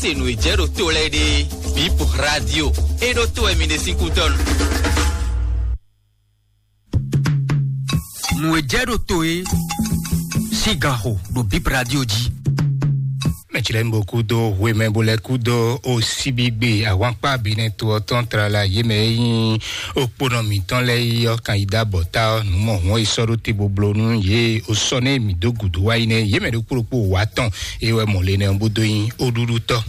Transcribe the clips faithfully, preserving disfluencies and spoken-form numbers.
Se nǔ e jɛ ɖo to lɛ́ɛ ɖe, Bip Radio, e ɖo to wɛ mi ɖe sín kútɔ́ nu. Nǔ e jɛ ɖo to e sín gan xo ɖo Bip Radio jí. Mɛtsilɛnbo kúdó hwemɛ bo lɛ kúdó osibigbe ahwankpá binɛ to ɔ́ tɔn tlala yě mɛ e nyí okponɔ mǐtɔn lɛ́ɛ yi ɔ́ kan yi dó abɔ̌ta ɔ́, nǔ mɔ hɔn e sɔ́ ɖó te bo bló nú yě o sɔ́ nɛ mǐ dó gǔdo wá yi nɛ́ yě mɛ ɖokpó ɖokpó wǎ tɔn e wɛ mɔ le nɛ ɔ́ bó dó nyí óɖúɖútɔ́.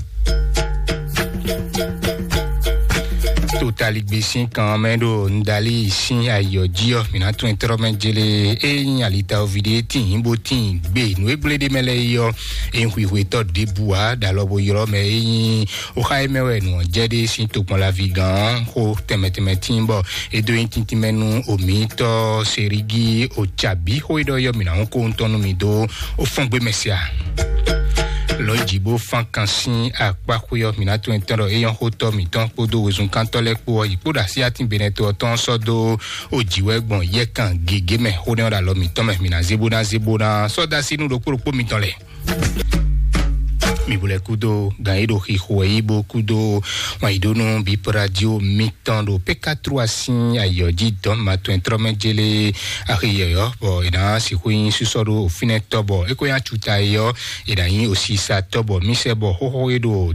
Totaligbé sín kan mɛ ɖo Ndali sín ayɔ jí ɔ́, mǐ ná tún ɛ tlɔ́ mɛ jélé. É nyí alitawovi ɖé tíin bó tíin gbé nǔ e gblé ɖé mɛ lɛ́ɛ yi ɔ́, é nyí hwihwetɔ́ ɖěbǔ ǎ ɖo alɔ bo ylɔ́ mɛ. É nyí oxa e mɛ wɛ nǔ ɔ́ jɛ ɖe sín tokpɔnlaví gán xó tɛnmɛ tɛnmɛ tíin bɔ é dó nyí tíntín mɛ nú omǐtɔ́ Serigi Ocabi xó e ɖɔ yɔ mǐ ná hún kó ŋutɔ́ nú mi dó ó fɔ́n gbé mɛ sia. Lɔ̌njǐ bó fán kan sín akpá xwé ɔ́, mǐ ná tunwun etɔ́ ɖɔ é nyɔ́ xótɔ́ mǐtɔn kpódó wezunkántɔ́ lɛ́ɛ kpó ɔ́, yi kpó ɖo así atín benɛto ɔ́ tɔn sɔ́ dó ó jǐ wɛ gbɔn yɛ́kan gěgé mɛ. Xó nɛ́ ɔ́ ɖo alɔ mǐtɔn mɛ, mǐ ná zé bó ná zé bó ná sɔ́ dó así nú ɖokpó ɖokpó mitɔn lɛ́ɛ. Mi bo lɛ kúdó gan yi ɖo xixo wɛ yi bó kúdó wan yi ɖó nú Bip Radio mitɔn ɖo P K trois sín ayɔ jí dɔn ma tɔn trɔ mɛ jélé axi yɔyɔ bɔ e ná sixú nyi sísɔ ɖo fínɛ tɔ bɔ é ko nya cu ta yi ɔ́, e ná nyi osisa tɔ bɔ mi sɛ bɔ xóxó e ɖo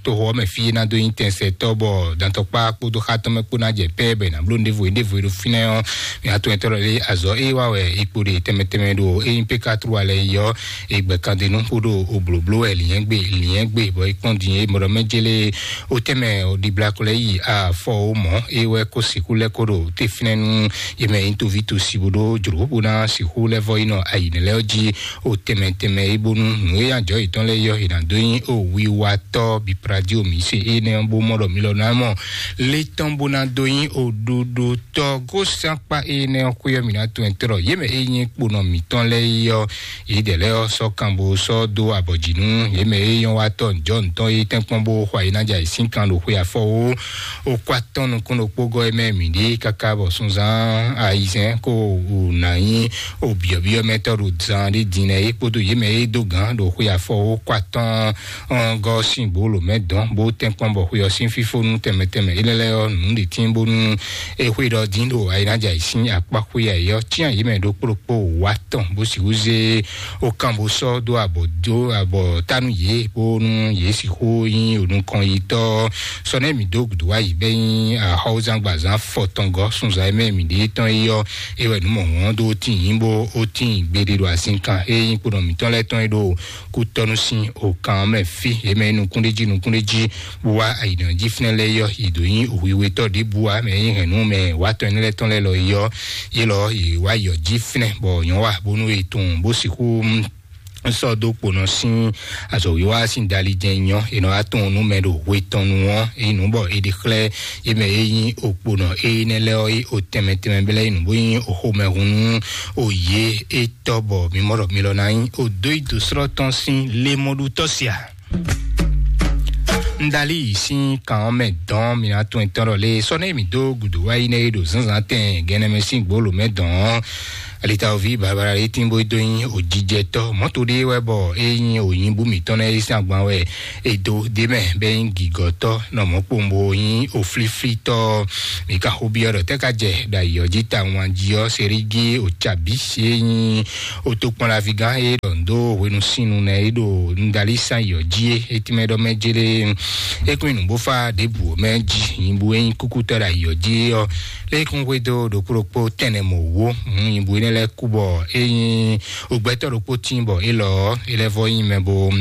toxo ɔ́ mɛ fí e ná dó nyi tɛnsɛ tɔ bɔ dantɔkpa kpódó xatɔ́ mɛ kpó ná jɛ pɛ bɛ ná bló ɖěvo ɖěvo ɖo fínɛ ɔ́. Mi atɔn tɔ lé azɔ e wa wɛ ikpo ɖe tɛmɛ tɛmɛ ɖo e nyi P K trois lɛ yi ɔ́, egbɛ kan de nú xó ɖo oblǒbló wɛ liɛ́ngbé liɛ́ngbé bɔ é kpɔ́n din é mɔɖɔ mɛ jélé ó tɛmɛ ɖibla ko lɛ yi afɔ ó mɔ é wɛ kó sixú lɛ kó ɖo te fínɛ́ nú yě mɛ nyí toví tosi bó ɖó jlǒ bó ná sixú lɛ vɔ yi nɔ ayǐnɛ lɛ jí ó tɛmɛ tɛmɛ é bónú nǔ e ajɔ yětɔn lɛ yɔ yě ná dó nyí ó wiwatɔ́ bipradio mǐ se énɛ́ bó mɔ ɖɔ mi lɔ ná mɔ létɔn bó ná dó nyí ó ɖuɖu tɔ gósánpá énɛ́ ɔ́ xwé ɔ́ mǐ ná tunwun ɛ tlɔ yě mɛ é nyí kponɔ mǐtɔn lɛ́ɛ yi ɔ́, yědɛɛ lɛ́ɛ ɔ́ sɔ́ kan bó sɔ́ dó abɔ̌ jí nú yě mɛ é nyɔ́ wá tɔ́ njɔ̌ ntɔn é tɛ́nkpɔ́n bó xwa yě ná jɛ ayǐsín kan ɖo xwe afɔ ó. Ó kó atɔ́ nukún ɖokpó gɔ́ é mɛ mǐ ɖe káká bɔ sunzán ayizɛ́n kó wǔ ná nyí ó byɔ̌byɔ́ mɛ tɔ́ ɖo zan ɖé din lɛ́ɛ é kpódó yě mɛ é dó gǎn ɖo xwe afɔ ó kó atɔ́ ɔ́ gɔ́ sín gbolo mɛ dɔn bó tɛ́nkpɔ́n bɔ xwe ɔ́ sín fífónú tɛnmɛ tɛnmɛ é lɛ́ lɛ́ ɔ́ nǔ ɖě tín bónú é xwe ɖɔ dín ɖo ayǐnájà yě sín akpá xwe yǎ é ɔ́ cyán yě mɛ ɖokpó ɖokpó wá tɔn bó sixú zé ó kan bó sɔ́ dó abɔ dó abɔ tánu yě bónú yě sixú nyí onukɔn yi tɔ́ sɔnɛ́ mǐ dó gǔdo wá yi bɛ́ nyí axɔ́wúzángbazán fɔtɔngɔ́ sunzan e mɛ mǐ ɖe tɔn é ɔ́ é wɛ nǔ mɔ̌hɔn dó tín nyí bó ó tín gbeɖé ɖo azinkan é nyí kponɔ mǐtɔn lɛ́ɛ tɔn é ɖo kútɔ́nú sín òkan ɔ́ mɛ fí. Yě mɛ nukúnɖéjí nukúnɖéjí bó wá ayǐnɔ jí fínɛ́ lɛ́ɛ yɔ yě dó nyí hwiwetɔ́ ɖěbǔ ǎ mɛ nyí hɛ̌nnu mɛ wátɔ́ énɛ́ lɛ́ɛ tɔn lɛ́ɛ lɔ yɔ yé lɔ yě wá yɔ jí fínɛ́ bɔ nyɔ̌ wa bónú è tunwun bó sixú sɔ́ dó kponɔ sín azɔ̌wiwa sín dali jɛ́n nyɔ́ è nɔ wá tunwun nú mɛ ɖo hwe tɔn nu ɔ́ é nǔ bɔ è ɖe xlɛ́ é mɛ é nyí okponɔ énɛ́ lɛ́ɛ ɔ́ é o tɛnmɛ tɛnmɛ bɛ́ lɛ́ɛ é nǔ bó nyí oxomɛhunú o yě é tɔ́ bɔ mi mɔ ɖɔ mi lɔ ná nyí o dó yi dǒ slɔ́ tɔn sín lémɔɖutɔ́ sia. Ndali sín kan ɔ́ mɛ dɔn mi ná tún tɔn ɖɔ lé sɔ́ nɛ mi dó gǔdo wá yi nɛ e ɖo zǎnzǎn tɛn gɛnɛ mɛ sín gbolo mɛ dɔn. Alitawovi babala yi tin bó dó nyi òjijɛtɔ́ mɔ̌to ɖé wɛ bɔ é nyi ònyibú mǐtɔn nɛ é sín agban wɛ é dó dé mɛ bɛ nyi gǐgɔtɔ́ nɔ mɔ̌ kpowun bó nyi òflíflítɔ́. Mi ka xó byɔ́ ɖɔ tɛ́ ka jɛ ɖo ayǐ ɔ́ jí ta wán jí ɔ́ serigi òcabí é nyi otokpɔnlaví gán é ɖɔ ndo hwenu sínu nɛ é ɖo ndalí sán yɔ jí é é tínmɛ ɖɔ mɛ jélé é kún nyi nǔgbófá ɖěbǔ mɛ jí nyibú é nyí kúkútɔ́ ɖo ayǐ ɔ́ jí ɔ́ lé kún xwedó ɖokpó ɖokpó tɛnɛ mɔ wó nyibú énɛ́ lɛ́ɛ kú bɔ é nyí ogbɛtɔ́ ɖokpó tín bɔ é lɔ ɔ́ é lɛ́ vɔ nyí mɛ bo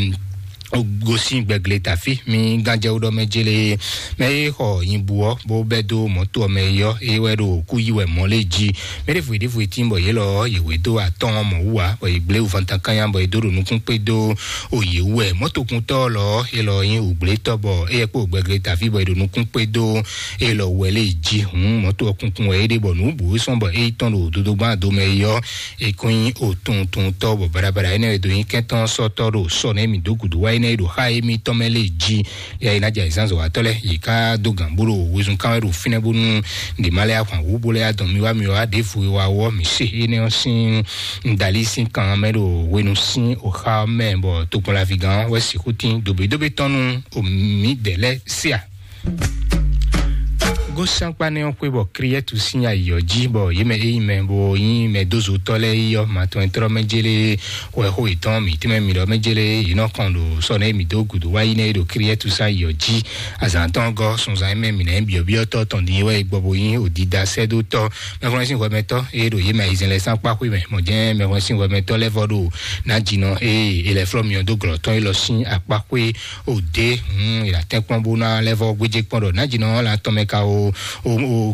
gosín gbɛgle tafí mi gánjɛwú ɖɔ mɛ jélé mɛ é xɔ nyibú ɔ́ bó bɛ́ dó mɔ̌to ɔ́ mɛ é ɔ́ é wɛ ɖo kú yí wɛ mɔ̌ lé jí. Mɛ ɖěvo ɖěvo e tín bɔ yě lɔ yě wé dó atɔ́n ɔ́ mɔ̌ wú ǎ bɔ yě gblé wúvantan kányá bɔ yě dó ɖo nukún kpé dó o yě wú wɛ mɔ̌tokuntɔ́ lɔ é lɔ nyí wǔgblétɔ́ bɔ éyɛ́ kpó gbɛgle tafí bɔ yě ɖo nukún kpé dó é lɔ wɛ lé jí hǔn mɔ̌to ɔ́ kunkun wɛ é ɖe bɔ nǔ bǔ é sɔ́n bɔ é yi tɔn ɖo dodogban do mɛ é ɔ́ é kún nyí òtuntuntɔ́ bɔ baɖabaɖa énɛ́ wɛ dó nyí kɛntɔ́ sɔ́tɔ́ ɖo sɔ nɛ́ mǐ dó gǔdo wá énɛ́ e ɖo xá émítɔn mɛ lé jí. Yɛ é ná jɛ azǎnzɔ̌watɔ́ lɛ́ɛ, yě ká dó gǎn bó ɖo wezun kán wɛ ɖo fínɛ́ bónú ɖě má lɛ́ ahwan wǔ bó lɛ́ adɔn mi wá mi wá ɖěvo e wa wɔ́ mǐ se énɛ́ ɔ́ sín ŋdalí sín kan mɛ ɖo hwenu sín oxa mɛ, bɔ tokpɔnlaví gán wɛ sixú tín dobédobé tɔn nú mǐdɛɛ lɛ́ɛ sí a. Gósɛnkpa nɛ́ ɔ́ xwé bɔ Kriɛtu sín ayǐ ɔ́ jí, bɔ yě mɛ e nyí mɛ bo nyí mɛdózotɔ́ lɛ́ɛ yi ɔ́, matɔn e tlɔ́ mɛ jélé wɛ xó yětɔn mǐ tɛ́nmɛ mi ɖɔ mɛ jélé yě nɔ kɔn ɖo sɔ nɛ́ mǐ dó gǔdo wá yi nɛ́ e ɖo Kriɛtu sín ayǐ ɔ́ jí. Azǎn tɔn gɔ́ sunzan e mɛ mǐ ná nyí byɔ̌byɔ́tɔ́ tɔn din é wɛ è gbɔ bo nyí odida sɛ́dótɔ́. Mɛxwlɛ́nsínhwɛmɛtɔ́ e ɖo yě mɛ ayizɛ́n lɛ́ɛ sín akpá xwé mɛ, mɔ̌ jɛ́n mɛxwlɛ́nsínhwɛmɛtɔ́ lɛ́ɛ vɔ ɖo nǎjínɔ e è lɛ́ flɔ́ myɔ dó glɔ̌ tɔn élɔ́ sín akpá xwé òde. Hun, è nǎ tɛ́n kpɔ́n bó ná lɛ́ vɔ gbéjé kpɔ́n ɖɔ nǎjínɔ ɔ́ la tɔn mɛ ka o, o,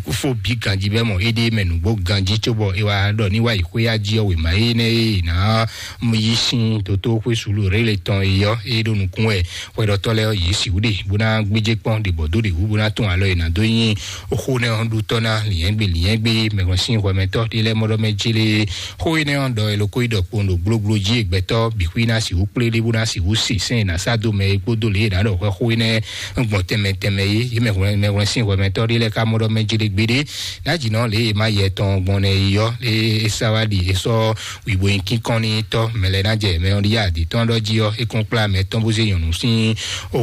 o fó bǐ ganjí bɛ́ mɔ éɖée mɛ nǔgbó ganjí cóbɔ é wá ɖɔ ní wá yi xwé ají ɔ́ wěma énɛ́ e è nǎ yí sín dótó xwé sulu rélé tɔn e ɔ́ é ɖó nukún wɛ. Hwɛɖɔtɔ́ lɛ́ɛ ɔ́, yě sixú ɖe bó ná gbéjé kpɔ́n ɖě bɔ dó ɖě wú bó ná tún alɔ è nǎ dó nyi xó nɛ́ ɔ́ ɖu tɔ́ ná lǐnyɛ́gbe lǐnyɛ́gbe. Mɛhwɛ́nsín hwɛmɛtɔ́ ɖé lɛ́ɛ mɔ ɖɔ mɛ jélé xó énɛ́ ɔ́ ɖɔ è ló kó yi ɖɔ kpowun ɖo gblógbló jí e gbɛtɔ́ bǐ xwí ná sixú kplé ɖé bó ná sixú se sɛ́n è nǎ sá dó mɛ é kpódó lě e è nǎ ɖɔ hwɛ xó énɛ́ gbɔn tɛnmɛ tɛnmɛ é. Yě mɛ hwlɛ́n mɛhwlɛ́nsín hwɛmɛtɔ́ ɖé lɛ́ɛ ka mɔ ɖɔ mɛ jélé gbeɖé. Ná jǐ nɔ lě e ma yɛ tɔn gbɔn nɛ yi ɔ́, lě e é sá wá ɖi é sɔ́ wǐbo nyi kínkɔ́n n'i tɔ́ mɛ lɛ́ɛ ná jɛ mɛ ɔ́ ɖíe adǐ tɔn ɖɔ jí ɔ́, é kún kplá mɛ tɔn bó zé nyɔ̌nu sín o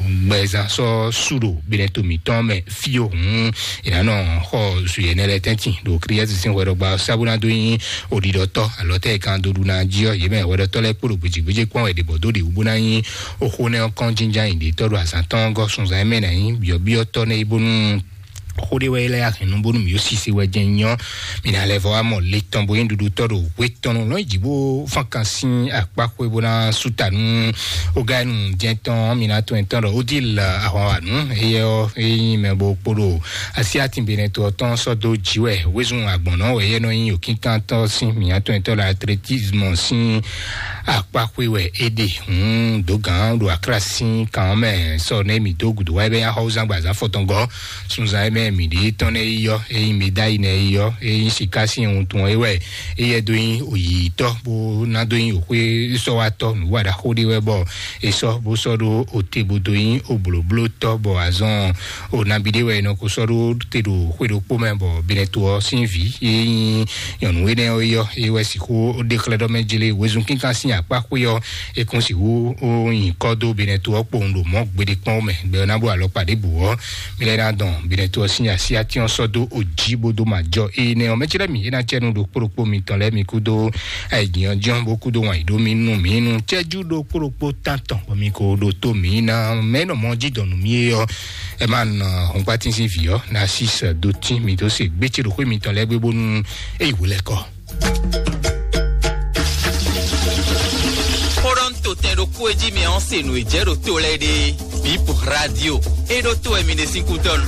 gbɛzán sɔ́ sú ɖo gbɛnɛto mǐtɔn mɛ fí o. Hǔn è nǎ nɔ xɔ zuyɛnɛ lɛ́ɛ tɛ́ntin ɖo Klíɛ́si sín hwɛɖɔgba ɔ́ sá bó ná dó nyí oɖiɖɔtɔ́ alɔ tɛ́ e kan dó ɖu ná jí ɔ́, yě mɛ hwɛɖɔtɔ́ lɛ́ɛ kpo ɖo gbějégbéjé kpɔ́n wɛ ɖě bɔ dó ɖě wú bó ná nyí oxó nɛ́ ɔ́ kɔn jínján nyi ɖě tɔ́ ɖo azǎn tɔn ɔ́ gɔ́ sunzan e mɛ ná nyí byɔ̌byɔ́tɔ́ nɛ́ é bónú xó ɖé wɛ é lɛ́ yá hɛn nú bónú mǐ ó sise wɛ jɛ́n nyɔ́. Mǐ ná lɛ́ vɔ wá mɔ le tɔn bó nyí ɖuɖutɔ́ ɖo hwe tɔn nú lɔn yi jǐ bó fán kan sín akpá xwé bó ná sú ta nú ogáyinu jɛ́n tɔn. Mǐ ná tɔn tɔn ɖɔ Odile ahwanwanu éyɛ́ ɔ́ é nyí mɛ bó kpo ɖo asi atinbɛnɛtɔ tɔn sɔ́ dó jǐ wɛ wezun agbɔ̌nɔ wɛ yɛ nɔ nyí òkínkantɔ́ sín mǐ ná tɔn tɔn ɖo atletisme sín akpá xwé wɛ é ɖe. Hǔn dǒgǎn ɖo aklásin kan mɛ sɔ nɛ mǐ dó gǔdo wá é bɛ nyí axɔ́wúzán gbazán fɔtɔngɔ́ sunzan e mɛ mǐ ɖe tɔn nɛ yi ɔ́, é nyí médayi nɛ yi ɔ́, é nyí siká sín wuntun é wɛ. Éyɛ́ dó nyí òyìyítɔ́ bó ná dó nyí òxwé sɔ́watɔ́ nǔwaɖaxó ɖé wɛ bɔ è sɔ́ bó sɔ́ ɖó ote bó dó nyí oblǒblótɔ́ bɔ azɔn o nabi ɖé wɛ è nɔ ko sɔ́ ɖó te ɖo xwé ɖokpó mɛ bɔ Benɛto ɔ́ sín vǐ é nyí nyɔ̌nu énɛ́ ɔ́ é ɔ́, é wɛ sixú ɖe xlɛ́ ɖɔ mɛ jlé wezun kínkan sín akpá xwé ɔ́, é kún sixú ó nyǐkɔ dó Benɛto ɔ́ kpowun ɖo mɔ̌ gbeɖé kpɔ́n mɛ gbɛ ɔ́ ná bó alɔkpa ɖěbǔ ɔ́. Mi lɛ́ ná dɔn Benɛto ɔ́ sín asyátín ɔ́ sɔ́ dó ojí bó dó ma jɔ énɛ́ ɔ́. Mɛ ce lɛ́ɛ mi é ná cɛ nú ɖo kpóɖokpó mitɔn lɛ́ɛ mi kúdó ayǐjǐnyɔ́jínɔ́ bó kúdó wǎn yǐ ɖó mì nú mǐ nú cɛ́jú ɖo kpóɖokpó tántɔn bɔ mi ko ɖo tó mǐ ná mɛ nɔ mɔ jí dɔn nú mì é ɔ́. Ɛ má nɔ hɔngbátín sín vǐ ɔ́ ná sí sɛ dó tín mǐ dó se gbé ce ɖo xwé mitɔn lɛ́ɛ gbé bónú é yi wǒ lɛ́ kɔ. Xó ɖɔ un to tɛn ɖokpó e jí mi ɔ́ se nǔ e jɛ ɖo to lɛ́ɛ ɖe. Bip Radio. E ɖo to wɛ mi ɖe sín kútɔ́nu.